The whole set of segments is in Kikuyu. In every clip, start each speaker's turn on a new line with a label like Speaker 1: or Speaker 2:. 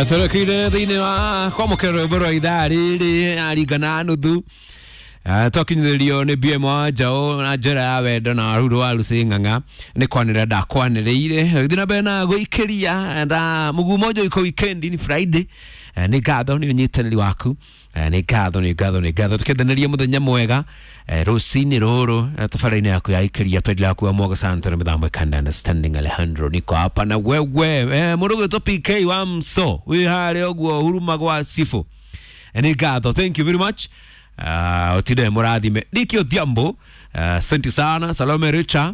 Speaker 1: Twerekeire thĩinĩ wa kwamũkĩra rwĩmbo rwa ithaa rĩrĩ aringa na nuthu. Twakinyithĩrio nĩ BM wa Njaũ na njĩra ya wendo na Ruru wa Lucy Ng'ang'a nĩ kwanĩrĩra ndakwanĩrĩire gĩthiĩ na mbere na gũikĩria na mũguu moja iko weekend ni Friday. Nĩ ngatho nĩ ũnyitanĩri waku. Nĩ ngatho nĩ ngatho nĩ ngatho tũkĩendanĩria mũthenya mwega rũcinĩ rũrũ tabarĩra-inĩ yaku ya ikĩria twendelea kuwa mwoga sana na mĩthamo kanda understanding Alejandro niko hapa na wewe mũndũ ũgwĩtwo PK wa mso wĩ harĩa ũguo huruma gwa Sifo. Nĩ ngatho, thank you very much. Utinde mũrathime Diki Odhiambo, asante sana Salome Richa,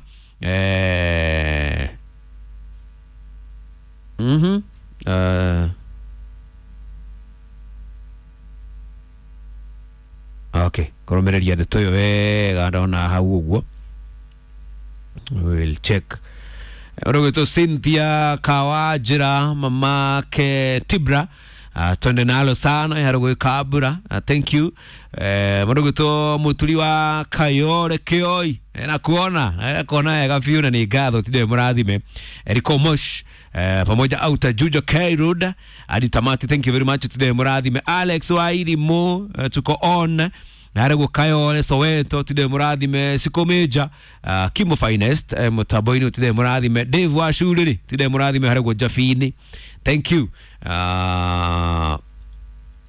Speaker 1: okay kũrũmĩrĩria ndeto ĩyo wega ndona hau ũguo we'll check ũrũgĩtwo Cynthia Kawajira mamake Tibra, twende nalo sana harũgwĩ Kabura, thank you. Mũrũgĩtwo mũturi wa Kayore Kĩoi, nakuona kuona wega biũ na nĩ ngatho tinde mũrathime Eriko Mosh, pamoja auta Jujo K Road hadi tamati, thank you very much tinde mũrathime Alex Wairimu, tuko on narä Kayore Soweto tinde mũrathime Siko Major, Kimo Finest, mũtambo-inĩ tinde mũrathime Dave wa Shuriri tinde mũrathime harä guo Jabini, thank you.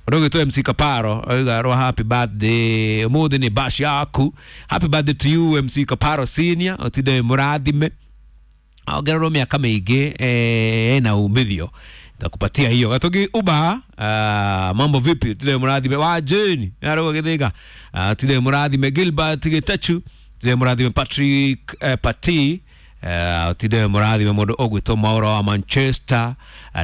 Speaker 1: Rũgĩtwo MC Kaparo oiga rwa happy birthday ũmũthĩ nĩ bash yaku, happy birthday to you MC Kaparo senior ũtinde mũrathime ongererwo mĩaka mĩingĩ na umithio takupatia hiyo gatogi uba. Mambo vipi tinde mũrathime wa Jane arũgo gĩthĩga, tinde mũrathime Gilbert Gĩtachu, tinde mũrathime Patrick, Pati, tinde mũrathime mũndũ ũgwĩtwo Mauro wa Manchester,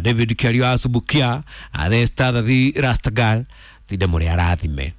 Speaker 1: David Kiario wa Subukia, the star the Rastagal tinde mũrĩ arathime.